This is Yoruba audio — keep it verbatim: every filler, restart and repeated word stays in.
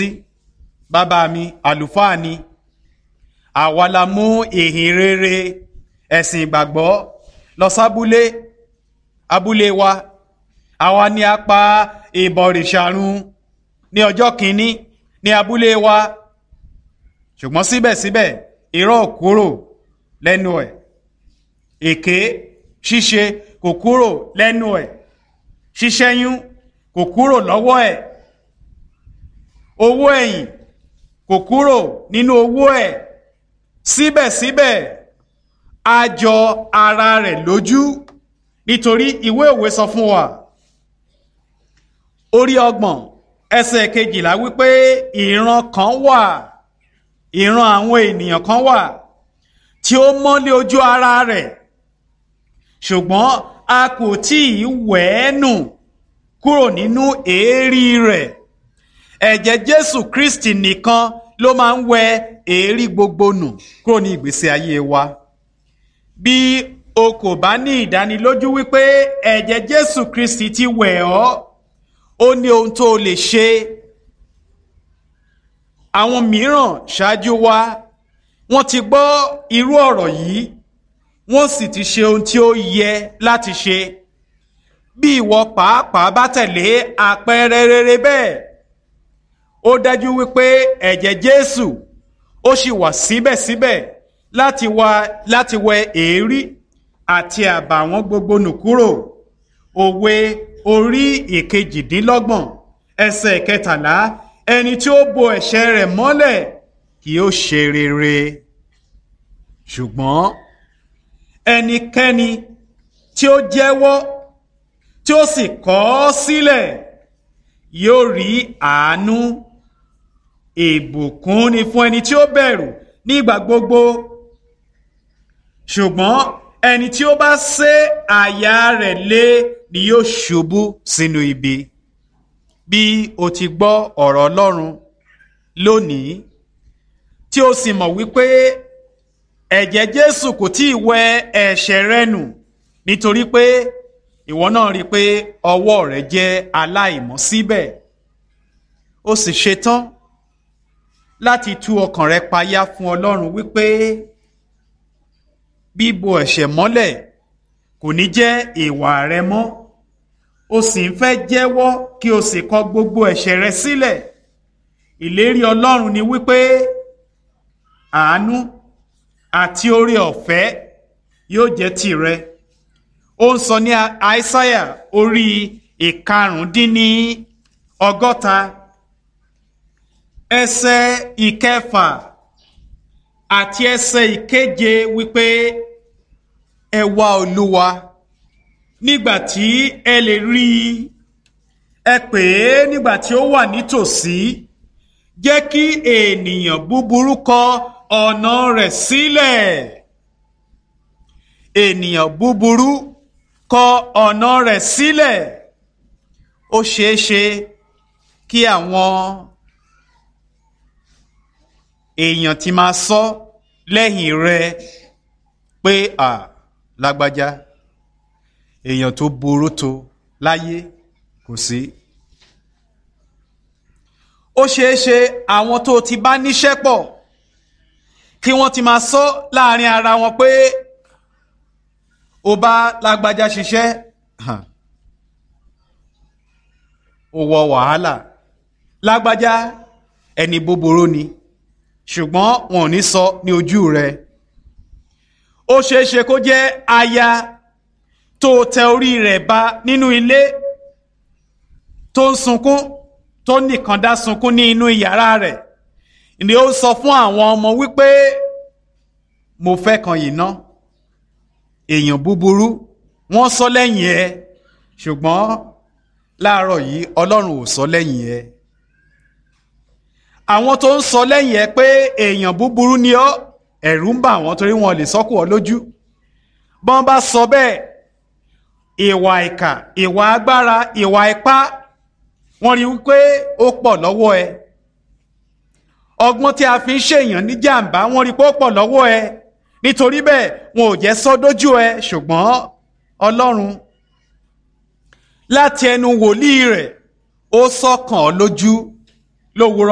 sí. Bàbá mi àlùfáà ni. Àwa la mú ìhìn rere ẹ̀sìn ìgbàgbọ́ lọ sábúlé abúlé wa. Àwa ni a pa ìbọ̀rìṣà run ní ọjọ́ kìíní ní abúlé wa. Ṣùgbọ́n síbẹ̀síbẹ̀ irọ́ ò kúrò lẹ́nu ẹ̀, èké ṣíṣe kò kúrò lẹ́nu ẹ̀, ṣíṣẹ́yún kò kúrò lọ́wọ́ ẹ̀, owó ẹ̀yìn kò kúrò nínú owó ẹ̀. Síbẹ̀síbẹ̀ a jọ ara rẹ̀ lójú, nítorí ìwé òwe sọ fún wa orí ọgbọ̀n ẹsẹ̀ kejìlá wípé ìran kan wà, ìran àwọn ènìyàn kan wà tí ó mọ́lé ojú ara rẹ̀, ṣùgbọ́n a kò tí ì wẹ̀ ẹ́ nù kúrò nínú èérí rẹ̀. Ẹ̀jẹ̀ Jésù Kristi nìkan ló máa ń wẹ èérí gbogbo nù kúrò ní ìgbésí ayé wa. Bí o kò bá ní ìdánilójú wípé ẹ̀jẹ̀ Jésù Kristi ti wẹ̀ ọ́, ó ní ohun tó o lè ṣe. Àwọn mìíràn ṣáájú wa, wọ́n ti gbọ́ irú ọ̀rọ̀ yìí, wọ́n sì ti ṣe ohun tí ó yẹ láti ṣe. Bí ìwọ pàápàá bá tẹ̀lé àpẹẹrẹ rere bẹ́ẹ̀, ó dájú wípé ẹ̀jẹ̀ Jésù ó sì wà síbẹ̀síbẹ̀ láti wá láti wẹ èérí àti àbàwọ́n gbogbo nù kúrò. Òwe orí ìkejìdínlọ́gbọ̀n ẹsẹ̀ kẹtàlá, ẹni tí ó bo ẹ̀ṣẹ̀ rẹ̀ mọ́lẹ̀ kì yóò ṣe rere, ṣùgbọ́n ẹnikẹ́ni tí ó jẹ́wọ́ tí ó sì kọ̀ ọ́ sílẹ̀ yóò rí àánú. Ìbùkún ni fún ẹni tí ó bẹ̀rù nígbà gbogbo, ṣùgbọ́n ẹni tí ó bá sé àyà rẹ̀ lé ni yóò ṣubú sínú ibi. Bí o ti gbọ́ ọ̀rọ̀ Ọlọ́run lónìí, tí o sì mọ̀ wípé ẹ̀jẹ̀ Jésù kò tí ì wẹ ẹ̀ṣẹ̀ rẹ nù, nítorí pé ìwọ náà rí i pé ọwọ́ rẹ jẹ́ aláìmọ́ síbẹ̀, o sì ṣetán láti tú ọkàn rẹ payá fún Ọlọ́run wípé bíbo ẹ̀ṣẹ̀ mọ́lẹ̀ kò ní jẹ́ ìwà rẹ mọ́, o sì ń fẹ́ jẹ́wọ́ kí o sì kọ gbogbo ẹ̀ṣẹ̀ rẹ sílẹ̀. Ìlérí Ọlọ́run ni wípé àánú àti oore ọ̀fẹ́ yóò jẹ́ tìrẹ. Ó ń sọ ní Aísáyà orí ìkarùndínní ọgọ́ta ẹsẹ̀ ìkẹfà àti ẹsẹ̀ ìkeje wípé ẹ wá Olúwa nígbà tí ẹ lè rí i, ẹ pè é nígbà tí ó wà nítòsí. Jẹ́ kí ènìyàn búburú kọ ọ̀nà rẹ̀ sílẹ̀. Ènìyàn búburú kọ ọ̀nà rẹ̀ sílẹ̀. Ó ṣeé ṣe kí àwọn èèyàn ti máa sọ lẹ́yìn rẹ pé à lágbájá, èèyàn tó burú tó láyé kò sí. Ó ṣeé ṣe àwọn tó ti bá níṣẹ́ pọ̀ kí wọ́n ti máa sọ láàrin ara wọn pé ó bá lágbájá ṣiṣẹ́, ó wọ wàhálà, lágbájá ẹni búburú ni, ṣùgbọ́n wọn ò ní sọ ní ojú rẹ. Ó ṣeé ṣe kó jẹ́ aya tó tẹ orí rẹ̀ ba nínú ilé tó ń sunkún, tó nìkan dá sunkún ní inú yàrá rẹ̀, ni ó sọ fún àwọn ọmọ wípé mo fẹ́ kan yìí ná, èèyàn búburú. Wọ́n sọ lẹ́yìn ẹ, ṣùgbọ́n láàárọ̀ yìí Ọlọ́run ò sọ lẹ́yìn ẹ. Àwọn tó ń sọ lẹ́yìn ẹ pé èèyàn búburú ni ọ́, ẹ̀rù ń bà wọ́n torí wọn lè sọ́kù ọ lójú. Bọ́n bá sọ bẹ́ẹ̀, ìwà ìkà, ìwà agbára, ìwà ipá, wọ́n rí wípé ó pọ̀ lọ́wọ́ ẹ. Ọgbọ́n tí a fi ń ṣèyàn ní jàǹbá, wọ́n rí pé ó pọ̀ lọ́wọ́ ẹ. Nítorí bẹ́ẹ̀ wọn ò jẹ́ sọ dójú ẹ, ṣùgbọ́n Ọlọ́run láti ẹnu wòlíì rẹ̀ ó sọkàn ọ́ lójú lówùúrọ̀.